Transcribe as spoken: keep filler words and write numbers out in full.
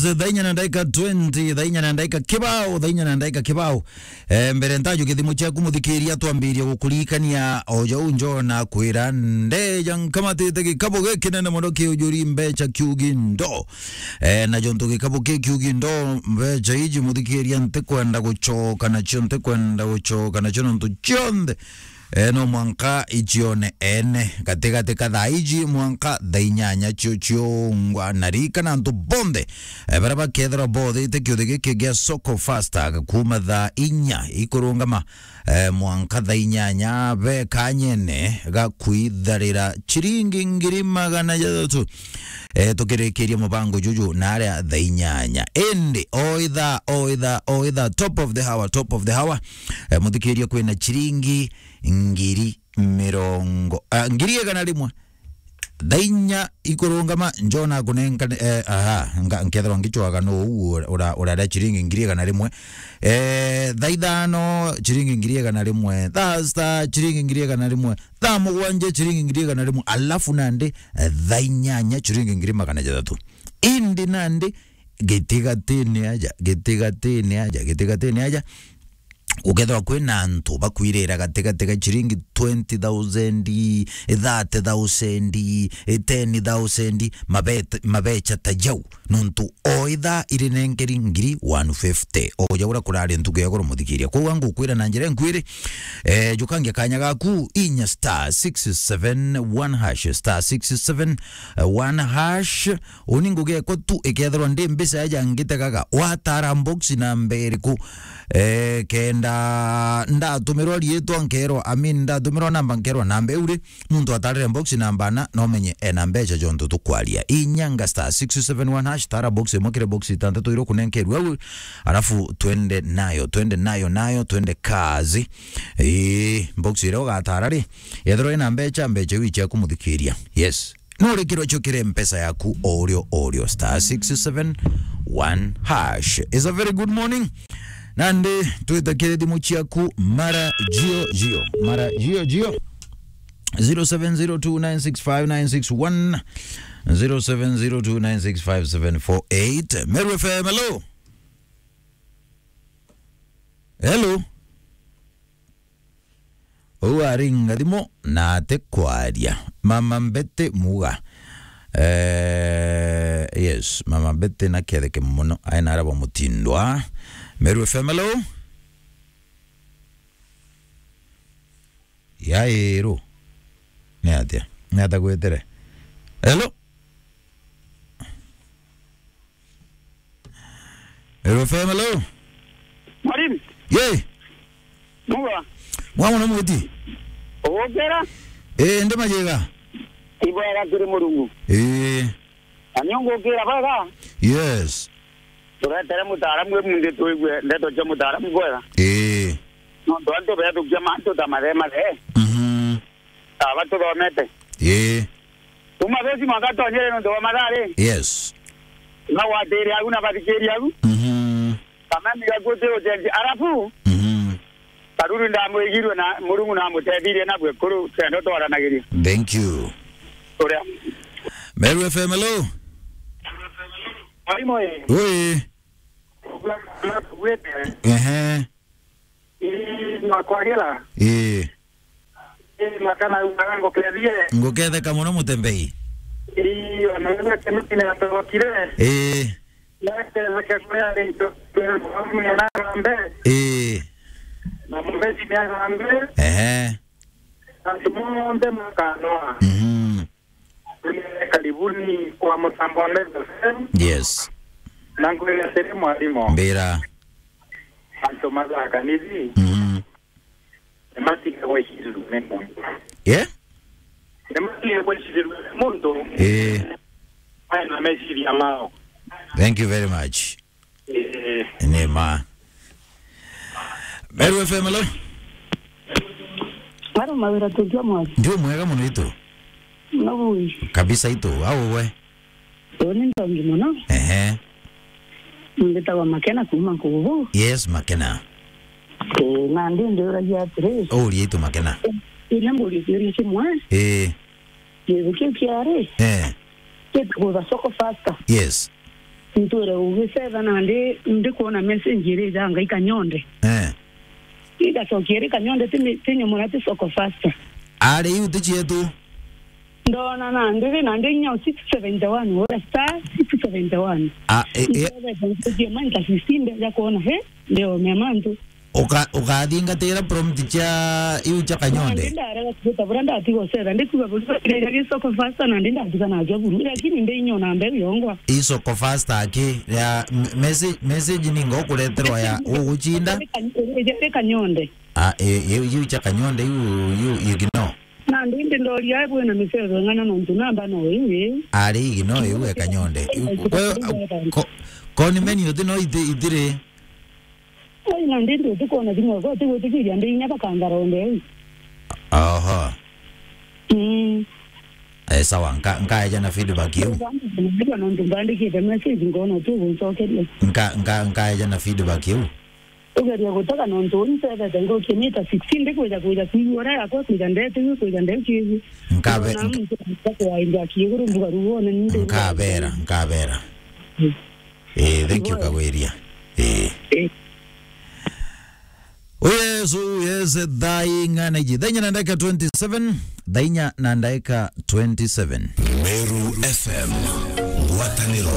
Thaa inya na ndaika twenty, thaa inya na ndaika kibao, thaa inya na ndaika kibao. Eh, mbere ntajo githimo ciaku muthikiria, twambirie gukuririkania o jau Njona kwira ndeja nkamatite gikabu gikinene mono kiujuri mbecha kiugi ndo. Eh, na jontu gikabu ki kiugi ndo, mbecha iji muthikiria ntikwenda gucoka nacio, ntikwenda gucoka nacio nontu cionthe eh, no mwanka icione ene gatigati ka thaa iji mwanka thaa inyanya cio ciungwa. Na ririkana antu bonthe, eh, baria bakethirwa bothite kiuthi giki gia Soko Fasta kuuma thaa inya ikurungama, eh, mwanka thaa inyanya be kanyene ga kwitharira ciringi ngiri magana jathatu. Eh, tukirikiria mubango juju na aria thaa inyanya. Indi o ithaa, o ithaa, o ithaa, top of the hour, top of the hour, eh, muthikiria kwina ciringi ngiri mirongo, ah, ngiri igana rimwe. Thaa inya ikurungama, Njona akunenka, eh, aha, nga-, nkethirwa ngicwaga no uu ura-, ura-, uraria ciringi ngiri igana rimwe. Eh, thaa ithano, ciringi ngiri igana rimwe. Thaa sita, ciringi ngiri igana rimwe. Thaa mugwanja, ciringi ngiri igana rimwe. Alafu nandi, eh, thaa inyanya, ciringi ngiri magana jathatu. Indi nandi, gitigatini aja, gitigatini aja, gitigatini aja, gukethirwa kwina antu bakwirira gatigati ga ciringi twenty thousand, thirty thousand, ten thousand, mabet-, mabecha ta jau, nontu o ithaa irinenkeri ngiri one fifty. O jau uria kurari ntuku ya iguru muthikiria. Kwou ngukwira na njira inkwiri, eh, jukangia kanya gaku, inya star six seven one hash, star six seven one hash, Uni ngugi ekwa tu ikethirwa ndi mbica eja ngitegaga, watara box namba iriku? Eh, kenda ndatumirwa riitwa nkerwa, I mean, ndatumirwa namba nkerwa namba iu ri, muntu atarire box namba ana, no menye ena mbecha jontu tukwaria. Inyanga star six seven one hash, tara box imwe kiri box itantatu iria ukunenkerua au, alafu twende nayo, twende nayo, nayo, twende kazi. Ii, box iria ugatara ri, yethirwa ina mbecha, mbecha iu ichiaku muthikiria. Yes. No urikirwe cio kiri mpesa yaku o urio o urio, star six seven one hash. It's a very good morning. Nandi twite kiri thimu ciaku mara jio jio. Mara jio jio. Zero seven zero two nine six five nine six one, zero seven zero two nine six five seven four eight. Meru F M, hello. Hello. Uu aringa thimu na atikwaria. Mama Betty Muga. Eh, yes, Mama Betty na ketheke mono. Aina araba mutindwa. Meru F M, hello? Yairu. Ni atia? Ni atia gwetere? Hello? Hello, F M, hello? Mwalimu. Ye. Muga. Mwa mono mwiti. Ugukira? Eh, ndi majega. Ibwega kiri Murungu. Eh. Na ni ungukira bwega? Yes. Turetere mutaaramu we munthi tuigue ndeto cia mutaaramu bwega. Eh. Nontu antu bethukia mantu ta mathe mathe. Mhm. Aba tuthomete. Ii. Kuma thuci mwanka tonyere nontu bwa mathaa ri. Yes. Bagwatire agu na bathikirie agu. Mhm. Kamami gakuti ucenji. Arafu, mhm, Karuru ndamwigirwe na Murungu namutethirie na bwekuru kenda twaranagiria. Thank you. Uria. Meru F M, hello? Mwalimu ii. Ui. Ehe. Ii, nakwagira. Ii. Ii, makana ugaga ngukethie. Nguketheka mono mutembei. Ii, ona wewe kemiti ni atogokire. Ii. Naketheke kuria rinto, mwana na gambe. Ii. Na mubeti ni agambe. Ehe. Antu monthe makanoa. Mhm. Karibuni kwa mutambo wa Meru F M. Yes. Na ngwira atiri mwalimu. Mbira. Antu mathaka nithi. Mhm. Nimatige gwicirua ni muntu. Yeah? Nimatige gwicirua ni muntu. Eh. Aina meciria mao. Thank you very much. Eh. Ni ma. Meru F M, hello? Maro mawira tukia mwathi. Ndio mwega mono itu. No bui. Kabisa itu, au we? Uni ntongi mono. Ehe. Mbitagwa Makena kuma Nkugubu. Yes, Makena. Eh, na ndi ndiuragia atiri. Uria itu Makena. Iria mburi ciuria kimwe. Eh. Kiuthi kiu kiari. Eh. Kitagwa Soko Fasta. Yes. Ntwire ugicetha nandi ndikwona message iri janga ikanyonde. Eh. Igacokia iri kanyonde timi-, tinyomora ti soko faster. Ari iu ti cietu. Ndona nandi ri nandi inya six seventy one, ura star six seventy one. Ah, e, e. Ntwire nthukie manta sixteen ndeja kwona, he, ndio mia mantu. Uka-, ukathingatira prompt cia iu cia kanyonde? Nandi ndarega kuruta buria ndatiga ucetha, ndikuga buru, ndaijagia isoko faster, nandi ndatiga nacio buru, lakini ndi inya ona mbeu yongwa. Isoko faster aki, ya, m-, message, message ni ngo kureterwa ya uguchinda? Iri kanyonde. Ah, e, iu, iu cia kanyonde, iu, iu, iu ignore. Nandi ndi ndoria bwina michezo ing'ana nontu namba no iu, ii. Ari ignore iu e kanyonde. Iu, kwe, ko-, ko ni menu uti no iti-, itiri? Ai, na ndi ndi utikona thimu yakwa, utigwitikiria ndi inya bakangara onde au. Oho. Mm. Eh, sawa, nka-, nkaeja na feedback iu. Nontu mbandikite message, nkona tu guncokeria. Nka-, nka-, nkaeja na feedback iu. Ugeria gutega nontu uni ncethete nguruki mita sixteen, ndikwija kwija kwigua uria yakwa kwija ndeti, kwija ndeti. Nkabe-, ndona nka-, muntu akwainda kiiguru mbuga ruone, nindi nkabera, nkabera. Mm. Eh, thank you, Kagwiria. Eh. Eh. Oh, yes, oh, yes, thaa ing'ana iji? Thaa inya na ndagika twenty-seven, thaa inya na ndagika twenty-seven. Meru F M, ngwataniro